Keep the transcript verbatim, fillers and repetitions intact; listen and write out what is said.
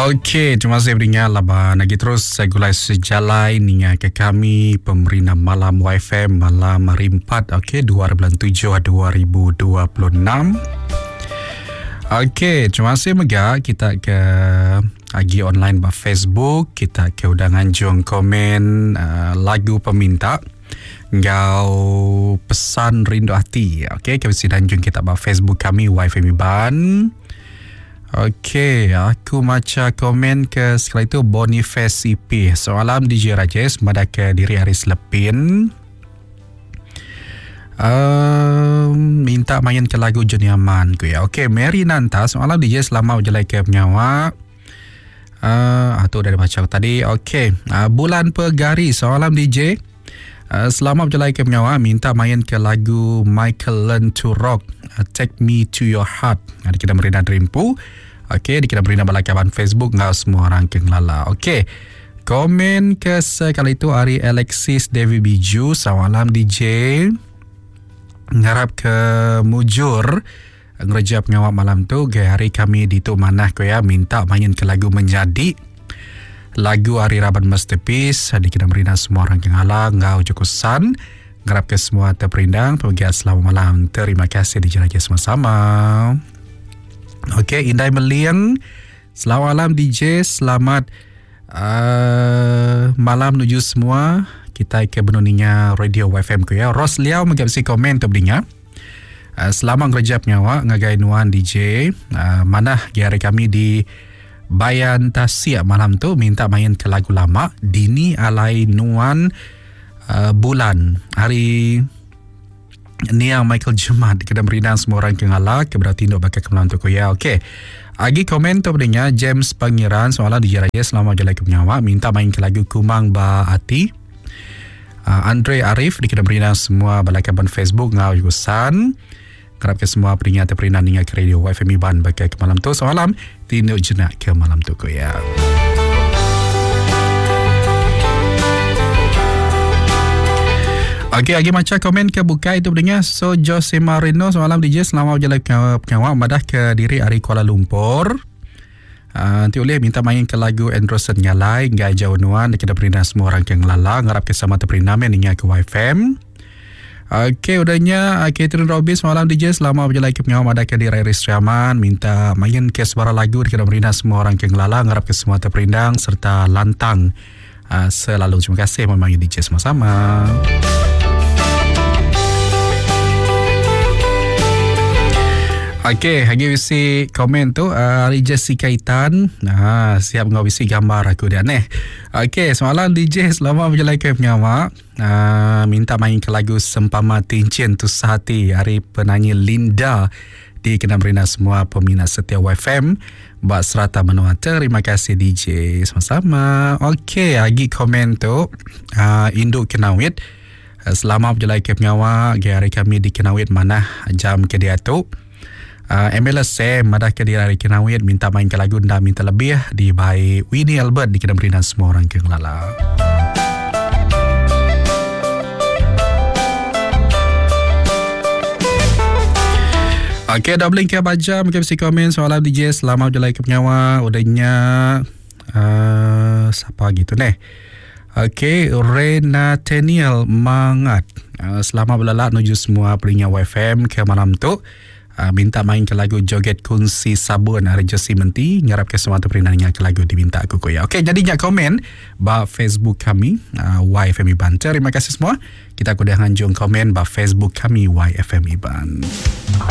Okey, terima kasih beringat laban lagi terus saya gulai sejalai ninga ke kami pemerintah malam Y F M malam hari empat, okey, dua bulan tujuh dua ribu dua puluh enam. Okey, terima kasih mega kita ke agi online ba Facebook, kita ke udah nganjung komen uh, lagu peminta ngau pesan rindu hati. Okey, kami sedang anjung kita ba Facebook kami Y F M Iban. Okey, aku baca komen ke sekali itu Boniface E P. Soalan D J Rajesh pada ke diri hari selepin. Um, minta main ke lagu Johnny Aman ku ya. Okey, Mary Nanta, soalan D J selama berjalan ke penyawa. Uh, ah, tu dah dibaca tadi. Okey, uh, Bulan Pegari, soalan D J. Uh, selama berjalan ke penyawa minta main ke lagu Michael Learn to Rock, uh, Take Me to Your Heart. Ada kita merina Dreampu. Okey, dikira merina balakaban Facebook ngau semua orang ke ngelala. Okey. Komen ke sekali itu hari Alexis Devi Biju, salam D J. Ngarap ke mujur ngereja pengawal malam tu ke hari kami di tu manah ko ya minta main ke lagu menjadi lagu hari Raban Masterpiece dikira merina semua orang ke ngala ngau jokosan. Ngarap ke semua terperindang pergi selamat malam. Terima kasih D J Raja sama-sama. Okey, Indai Meliang. Selamat malam D J, selamat uh, malam menuju semua. Kita ke benuninya Radio Y F M ku ya. Ros Liao menggapsi komen tu beringat. Uh, selamat ngerja penyawa ngagai nuan D J. Uh, manah hari kami di Bayan Tasia malam tu minta main ke lagu lama Dini Alai Nuan uh, Bulan. Hari Nia Michael Jemat kena merindang semua orang ke ngala ke berarti ndok bakal ke malam tu ku ya. Okey. Agi komen tu pendengar James Pangeran soalan D J Raja selamat jalan ke penyawa minta main ke lagu Kumang Ba Ati. Uh, Andre Arif dikena merindang semua balakaban Facebook ngau jurusan. Kerap ke semua peringat terperindang ninga ke radio Y F M Iban bakal ke malam tu. Semalam tinduk jenak ke malam tu ku ya. Okey, lagi macam komen ke buka itu pendengar. So Jose Marino semalam D J selamat berjalan ke pengawal madah ke diri hari Kuala Lumpur. Uh, nanti boleh minta main ke lagu Anderson Ngalai ngai jauh nuan kita perintah semua orang ke ngelala ngarap ke sama terperintah main ninga ke Y F M. Okey, udahnya Catherine Robin semalam D J selamat berjalan ke pengawal madah ke diri hari Sriaman minta main ke sebarang lagu kita perintah semua orang ke ngelala ngarap ke semua terperindang serta lantang uh, selalu. Terima kasih memanggil D J sama-sama. Okey, lagi bisi komen tu uh, hari Jessica Itan. Ah, siap ngau bisi gambar aku dia neh. Okey, semalam D J selamat berjalan ke pengawak. Uh, minta main ke lagu Sempama Tincin Tu Sehati hari penyanyi Linda di kena berina semua peminat setia Y F M buat serata menua. Terima kasih D J sama-sama. Okey, lagi komen tu uh, Induk Kenawit. Uh, selamat berjalan ke pengawak. Hari kami di Kenawit mana jam ke dia tu. Uh, M L S M madah ke diri hari Kenawit minta main ke lagu nda minta lebih di by Winnie Albert di kena berinan semua orang ke ngelala. Okey, dah beli ke baca mungkin mesti komen soalan D J selamat berjalan ke penyawa udahnya uh, siapa gitu neh. Okey, Renateniel Mangat. Uh, selamat berlalak menuju semua pelingan Y F M ke malam tu. Uh, minta main ke lagu Joget Kunci Sabun hari Jesse Menti ngarap ke semua terperinanya ke lagu diminta aku koya. Okey, jadi nyak komen ba Facebook kami uh, Y F M Iban. Terima kasih semua. Kita kudah nganjung komen ba Facebook kami Y F M Iban.